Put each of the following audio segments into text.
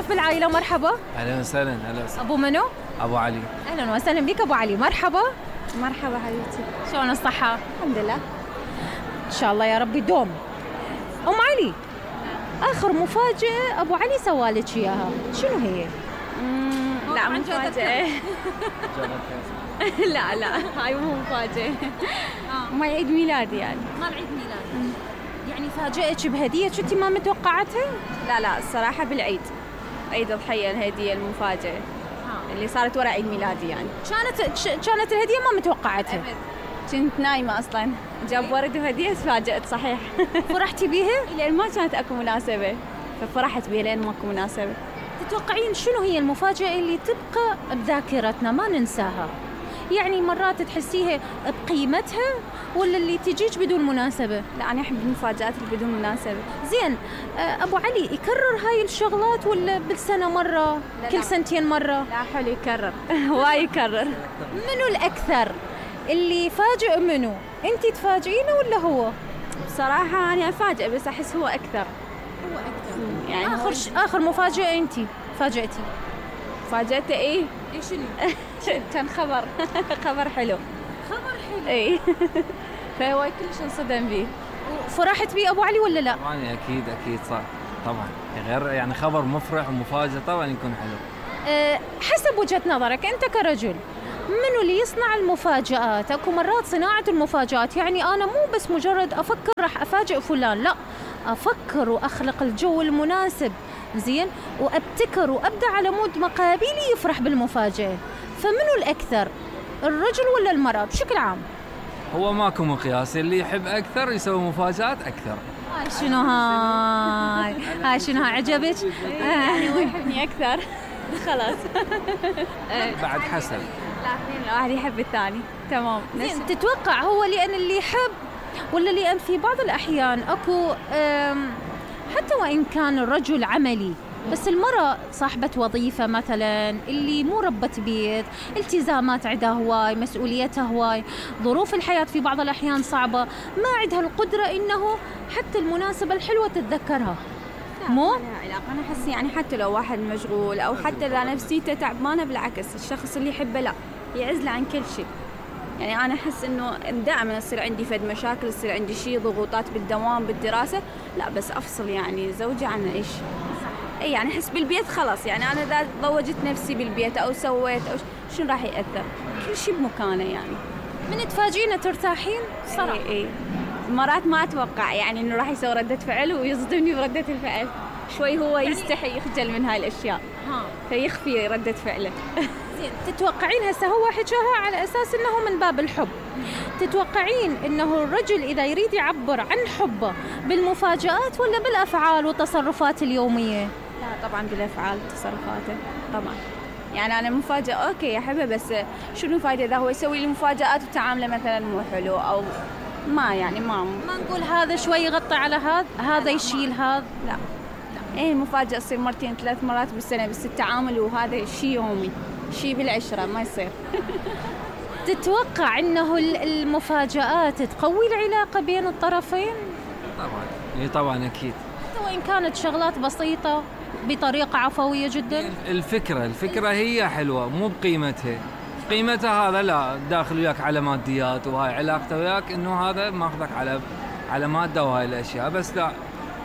ضيف بالعائلة، مرحبا. اهلا وسهلا. هلا وسهلا. ابو منو؟ ابو علي. اهلا وسهلا بك ابو علي، مرحبا. مرحبا حبيبتي. شلون الصحة؟ الحمد لله. ان شاء الله يا رب يدوم. ام علي، اخر مفاجأة ابو علي سوالك اياها شنو هي؟ لا مفاجأة. لا هاي مو مفاجأة. ما عيد ميلادي يعني. مال عيد ميلادك. يعني فاجأتك بهدية كنتي ما متوقعتها؟ لا الصراحة بالعيد، عيد الضحية، الهدية المفاجأة اللي صارت ورا عيد ميلادي يعني. كانت الهدية ما متوقعتها؟ كنت نايمة أصلاً، جاب ورد وهدية، تفاجأت صحيح. فرحتي بيها؟ لأن ما كانت أكو مناسبة، ففرحت بيها لأن ماكو مناسبة. تتوقعين شنو هي المفاجأة اللي تبقى بذاكرتنا ما ننساها؟ يعني مرات تحسيها بقيمتها ولا اللي تجيك بدون مناسبة؟ لا أنا أحب المفاجآت اللي بدون مناسبة. زين، أبو علي يكرر هاي الشغلات ولا بالسنة مرة؟ لا كل سنتين مرة؟ لا حلو يكرر. واي يكرر. منو الأكثر اللي يفاجئ منو؟ أنتي تفاجئينه ولا هو؟ بصراحة أنا أفاجئ بس أحس هو أكثر. يعني آخر مفاجأة أنتي فاجأتي؟ فاجأته إيه شنو؟ كان خبر حلو. إيه. فهو كلش انصدم بيه. فرحت بيه أبو علي ولا لا؟ طبعا أكيد صح طبعا، غير يعني خبر مفرح ومفاجأة طبعا يكون حلو. حسب وجهة نظرك أنت كرجل، منو اللي يصنع المفاجآت؟ اكو مرات صناعة المفاجآت يعني أنا مو بس مجرد أفكر راح أفاجئ فلان، لا، أفكر وأخلق الجو المناسب، زين، وأبتكر وأبدأ على مود مقابلي يفرح بالمفاجأة. فمنو الأكثر، الرجل ولا المرأة بشكل عام؟ هو ماكو مقياس، اللي يحب أكثر يسوي مفاجآت أكثر. هاي شنو عجبك؟ يعني هو يحبني أكثر. خلاص. بعد حسب. لا اثنين، الواحد يحب الثاني. تمام. زين، تتوقع هو لأن اللي يحب ولا لأن في بعض الأحيان أكو حتى وإن كان الرجل عملي بس المرأة صاحبة وظيفة مثلا، اللي مو ربة بيت، التزامات عندها هواي، مسؤوليتها هواي، ظروف الحياة في بعض الأحيان صعبة، ما عندها القدرة إنه حتى المناسبة الحلوة تتذكرها. مو؟ أنا أحس يعني حتى لو واحد مشغول أو حتى إذا نفسيته تعبانة، بالعكس الشخص اللي يحبه لا يعزله عن كل شيء. يعني أنا أحس إنه دائما يصير عندي فد مشاكل، يصير عندي شيء ضغوطات بالدوام بالدراسة، لا بس أفصل يعني زوجي عن إيش. أي يعني أحس بالبيت خلاص، يعني أنا إذا ضوجت نفسي بالبيت أو سويت أو شنو راح يأثر، كل شيء بمكانه يعني. من تفاجئنا ترتاحين صراحة. إيه. مرات ما أتوقع يعني إنه راح يسوي ردة فعل ويصدمني بردة الفعل، شوي هو يستحي يخجل من هاي الأشياء فيخفي ردة فعله. زين، تتوقعين هسه هو حكاها على أساس إنه من باب الحب، تتوقعين إنه الرجل إذا يريد يعبر عن حبه بالمفاجآت ولا بالأفعال والتصرفات اليومية؟ لا طبعا بالأفعال وتصرفاته طبعا. يعني أنا المفاجأة أوكي أحبها، بس شنو الفائدة إذا هو يسوي لي مفاجآت وتعامله مثلا مو حلو، أو ما يعني ما نقول هذا شوي يغطي على هذا يشيل هذا، لا. إيه المفاجأة تصير مرتين 3 مرات بالسنة، بس التعامل وهذا شيء يومي، شيء بالعشرة ما يصير. تتوقع إنه المفاجآت تقوي العلاقة بين الطرفين؟ طبعا. إيه طبعا أكيد. حتى وإن كانت شغلات بسيطة بطريقة عفوية جدا. الفكرة هي حلوة، مو قيمتها هذا لا، داخل وياك على ماديات وهاي علاقته وياك إنه هذا ماخذك على مادة وهاي الأشياء، بس لا،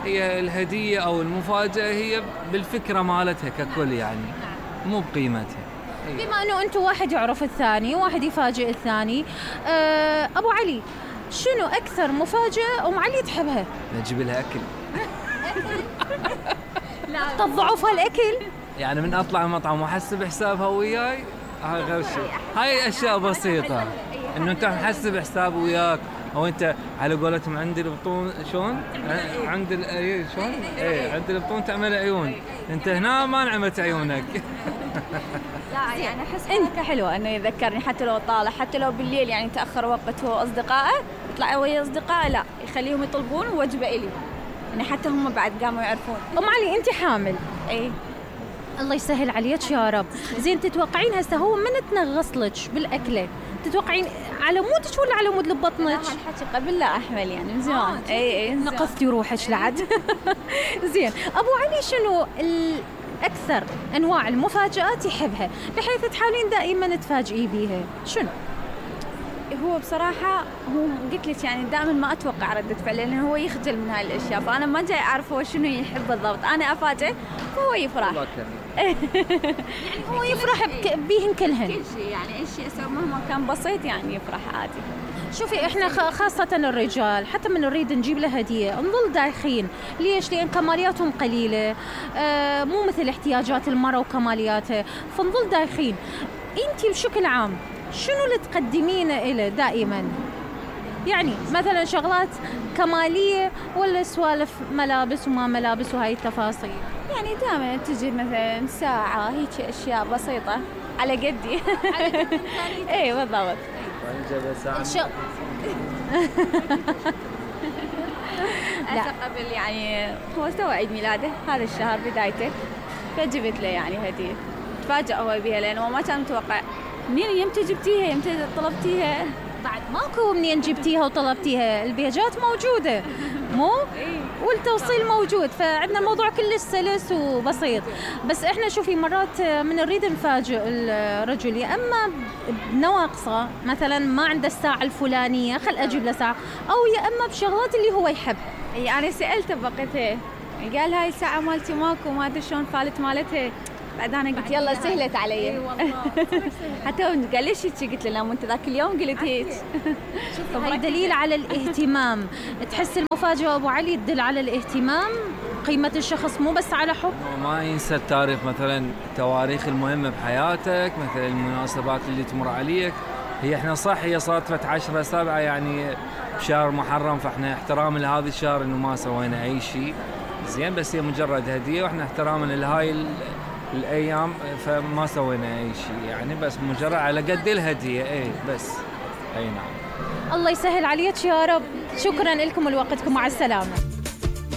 هي الهدية أو المفاجأة هي بالفكرة مالتها ككل يعني، مو بقيمتها. بما أنه أنتوا واحد يعرف الثاني، واحد يفاجئ الثاني، أبو علي شنو أكثر مفاجأة أم علي تحبها؟ نجيب لها أكل. تضعف هالأكل؟ يعني من أطلع المطعم وأحسب حسابها وياي، هاي غير شيء، هاي أشياء بسيطة، إنه أنت محسب حساب وياك، أو أنت على قولتهم عند البطون شلون؟ عند شلون؟ إيه عند البطون تعمل عيون، أنت هنا ما نعمت عيونك. لا يعني أحس أنت حلوة إنه يذكرني حتى لو طالع، حتى لو بالليل يعني تأخر وقت هو أصدقائه، يطلع ويا أصدقائه، لا يخليهم يطلبون وجبة إلي، يعني حتى هم بعد قاموا يعرفون. أم علي أنت حامل؟ إيه. الله يسهل عليك يا رب. زين، تتوقعين هسه هو من تنغص لك بالأكلة، تتوقعين على مودك ولا على مود بطنك؟ لا هالحكي قبل لا أحمل يعني من زمان. اي نقصتي روحك لعد. زين، أبو علي شنو أكثر أنواع المفاجآت يحبها، بحيث تحاولين دائما تفاجئي بيها. شنو؟ هو بصراحة هو قلت لك يعني دائما ما أتوقع ردة فعل، لأن هو يخجل من هاي الأشياء، فأنا ما جاي أعرف هو شنو يحب بالضبط، أنا أفاجئ فهو يفرح. يعني هو يفرح بيهن كلهن، كل شيء يعني أي شيء أسوي مهما كان بسيط يعني يفرح عادي. شوفي احنا خاصة الرجال حتى من نريد نجيب له هدية نظل دايخين. ليش؟ لأن كمالياتهم قليلة، مو مثل احتياجات المرأة وكمالياتها، فنظل دايخين. انتي بشكل عام شنو اللي تقدمينه إله دائما؟ يعني مثلا شغلات كمالية ولا سوالف ملابس وما ملابس وهاي التفاصيل؟ يعني دائما تجي مثلا ساعة هيك أشياء بسيطة على قدي. اي بالضبط. لا قبل يعني هو سوى عيد ميلاده هذا الشهر بدايته، فجبت له يعني هدية، تفاجأ هو بها لأنه ما كان متوقع. منين يمتى جبتيها يمتى طلبتيها؟ بعد ماكو منين جبتيها وطلبتيها، البيجات موجودة مو؟ والتوصيل موجود، فعندنا الموضوع كله سلس وبسيط. بس احنا شوفي مرات من نريد نفاجئ الرجل، يا اما بنواقصه مثلا ما عنده الساعة الفلانية خل اجيب له ساعة، او يا اما بشغلات اللي هو يحب. انا سألته بقيتها قال هاي الساعة مالتي ماكو ما ادري شلون فالت مالتها، بعد انا قلت يلا سهلت علي. اي والله حتى قال ليش هيك؟ قلت له لا مو انت ذاك اليوم قلت هيك. هاي دليل على الاهتمام. تحس المفاجأة ابو علي تدل على الاهتمام، قيمة الشخص مو بس على حب. ما ينسى التاريخ، مثلا التواريخ المهمة بحياتك، مثلا المناسبات اللي تمر عليك. هي احنا صح هي صادفت 10/7 يعني بشهر محرم، فاحنا احتراما لهذا الشهر انه ما سوينا اي شيء زين، بس هي مجرد هدية، واحنا احتراما لهاي الايام فما سوينا اي شيء يعني، بس مجرد على قد الهدية. اي بس اي نعم. الله يسهل عليك يا رب. شكرا لكم ولوقتكم، مع السلامة.